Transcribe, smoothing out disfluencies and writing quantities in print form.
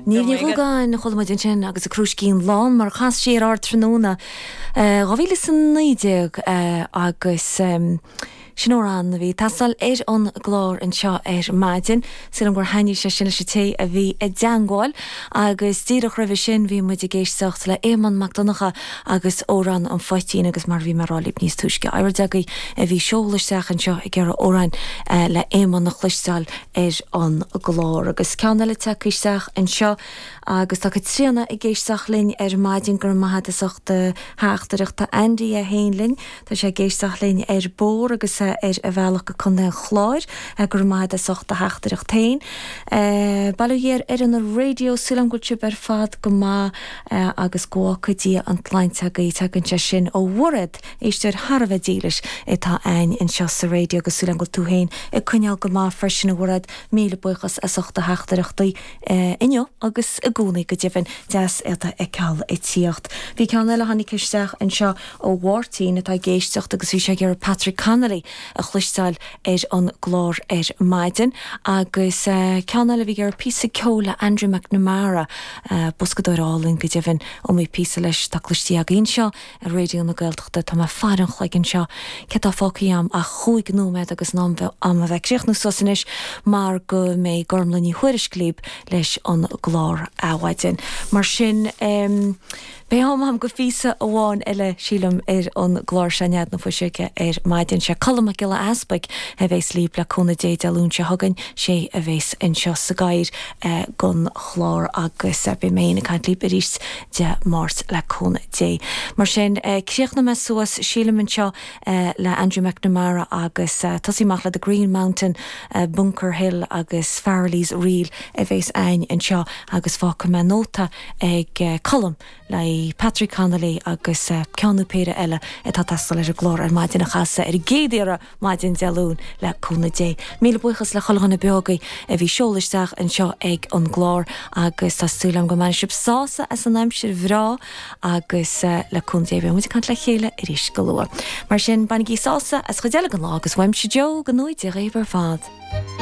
Niamh Ní Dhúgáin a chuala muid ansin agus a Crúiscín Lán mar a chas sí ar Ardtráthnóna 2019 agus sin amhrán a bhí ag teastáil ar an gclár anseo ar maidin. Sílim gur thaitnigh sé sin leis an té a bhí i dteangmháil agus díreach roimhe sin bhí muid ag éisteacht le Éamonn Mac Donncha agus Amhrán an Phoitín agus mar a bhí mé ag rá libh níos túisce, oiread agaibh a bhí ag seoladh isteach anseo ag iarraidh amhráin le Éamonn a chloisteáil ar an gclár. Agus ceann eile tagtha isteach anseo agus tá Caitríona ag éisteacht linn ar maidin, go raibh maith agat as ucht do theachtaireacht. Tá Andy é féin linn, tá sé ag éisteacht linn ar bóthar agus é ar a bhealach go Contae an Chláir, go raibh maith agat as ucht do theachtaireacht féin. Bail ó Dhia ar fhoireann an raidió, súil agam go bhfuil sibh ar fad go maith agus go bhfágfaidh Dia an tsláinte agaibh. Tagann sé sin ó Mhairéad. Éisteoir thar a bheith dílis atá a'ainn anseo sa raidió agus súil agam go bhfuil tú féin ag coinneáil go maith freisin a Mhairéad. Míle buíochas as ucht do theachtaireachtaí inniu agus i gcónaí go deimhin. Deas iad a fheiceáil ag tíocht. Bhí ceann eile a tháinig isteach anseo ó Mháirtín atá ag éisteacht agus bhí sé ag iarraidh Patrick Connolly a chloisteáil ar an gclár ar maidin. Agus ceann eile a bhí ag iarraidh píosa ceoil le Andrew McNamara, boscadóir álainn go deimhin, iomaí píosa leis atá cloiste againn anseo. Ar Raidió na Gaeltachta, tá mé ag faire an chloig anseo. Céard tá fágtha a'm ach chúig nóiméad agus in am a'm a bheith ag críochnú suas anois mar go mbeidh Gormlaith Ní Thuairisg libh leis an gclár Adhmhaidin. Mar sin, beidh am a'm go phíosa amháin eile, sílim, ar an gclár seo Nead na Fuiseoige ar maidin. Sé Colm Mac Giolla Easpaig a bhéas libh le cúnamh Dé Dé Luain seo chugainn, sé a bhéas anseo sa gcathaoir don chlár agus beidh mé féin ag caint libh arís Dé Máirt le cúnamh Dé. Mar sin, críochnóidh mé suas, sílim, anseo le Andrew McNamara agus tosaí amach le The Green Mountain, Bunker Hill agus Farrelly's Reel a bhéas a'ainn anseo agus fágfaidh mé nóta ag Colm le Patrick Connolly agus ceann nó péire eile atá ag teastáil ar an gclár ar maidin a chasadh ar an gcéad iarraidh maidin Dé Luain le cúnamh Dé. Míle buíochas le chuile dhuine beo agaibh a bhí ag seoladh isteach anseo ag an gclár agus tá súil agam go mbainfidh sibh sásamh as an aimsir bhreá agus le cúnamh Dé beidh muid ag caint le chéile arís go luath. Mar sin bainigí sásamh as chuid eile den lá agus uaimse Joe go ngnóthaí Dia dhaoibh ar fad.